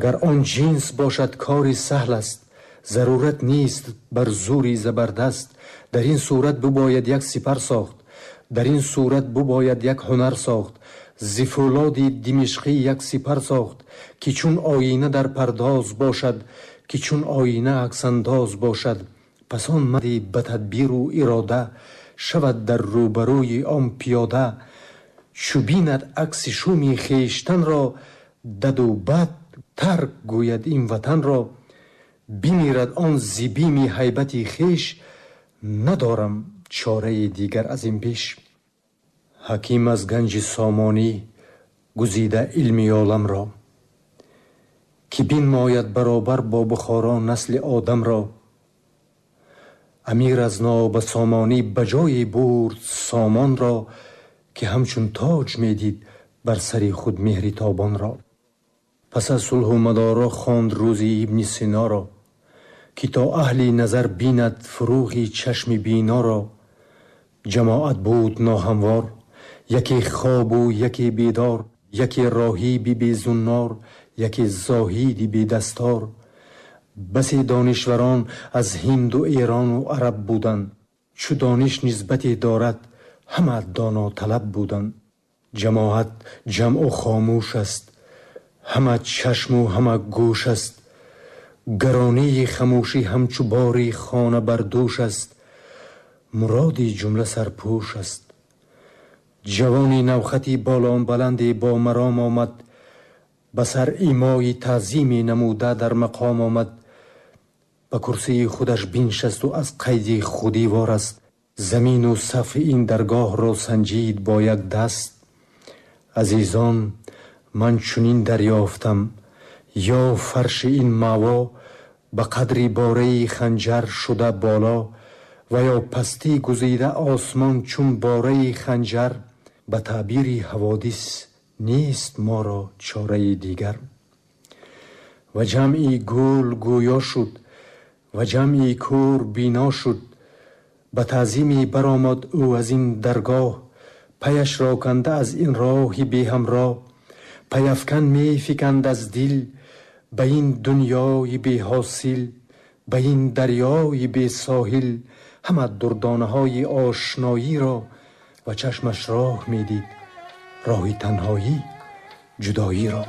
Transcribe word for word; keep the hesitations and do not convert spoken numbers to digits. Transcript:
Агар он ҷинс бошад, кори саҳл аст, зарурат нест бар зури забардаст. Дар ин сурат бибояд як сипар сохт, дар ин сурат бибояд як ҳунар сохт. Зи фӯлоди димишқӣ як сипар сохт, ки чун оина дар пардоз бошад, ки чун оина аксандоз бошад. Пас он марди ба тадбиру ирода шавад дар рӯбарӯи он пиёда. Чу бинад акси шуми хештанро, даду бад тарк гӯяд ин ватанро. Бимирад он зи бими ҳайбати хеш, надорам чораи дигар аз ин пеш. Ҳаким аз ганҷи сомонӣ гузида илми оламро, ки бинмояд баробар бо Бухоро насли одамро. Амир аз нобасомонӣ ба ҷое бурд сомонро, ки ҳамчун тоҷ медид бар сари худ меҳри тобонро. Пас аз сулҳу мадоро хонд рӯзи Ибни Синоро, ки то аҳли назар бинад фурӯғи чашми биноро. Ҷамоат буд ноҳамвор, яке хобу яке бедор, яке роҳиби безуннор, яке зоҳиди бедастор. Басе донишварон аз ҳинду эрону араб буданд, чу дониш нисбате дорад, ҳама доноталаб буданд. Ҷамоат ҷамъу хомӯш аст, ҳама чашму ҳама гӯш аст. Гаронии хамӯшӣ ҳамчу бори хона бар дӯш аст, муроди ҷумла сарпӯш аст. Ҷавони навхати болонбаланде бо маром омад, ба сар имои таъзиме намуда дар мақом омад. Ба курсии худаш биншасту аз қайди худӣ вораст, замину сақфи ин даргоҳро санҷид бо як даст. Азизон, ман чунин дарёфтам, ё фарши ин маъво ба қадри бораи ханҷар шуда боло, ва ё пастӣ гузида осмон чун бораи ханҷар. Ба таъбири ҳаводис нест моро чораи дигар. Ва ҷамъи гул гӯё шуд, ва ҷамъи кӯр бино шуд. Ба таъзиме баромад ӯ аз ин даргоҳ, паяшро канда аз ин роҳи беҳамроҳ. Паяфкан мефиканд аз дил ба ин дунёи беҳосил, ба ин дарёи бесоҳил. Ҳама дурдонаҳои ошноиро ва чашмаш роҳ медид, роҳи танҳоӣ, ҷудоиро.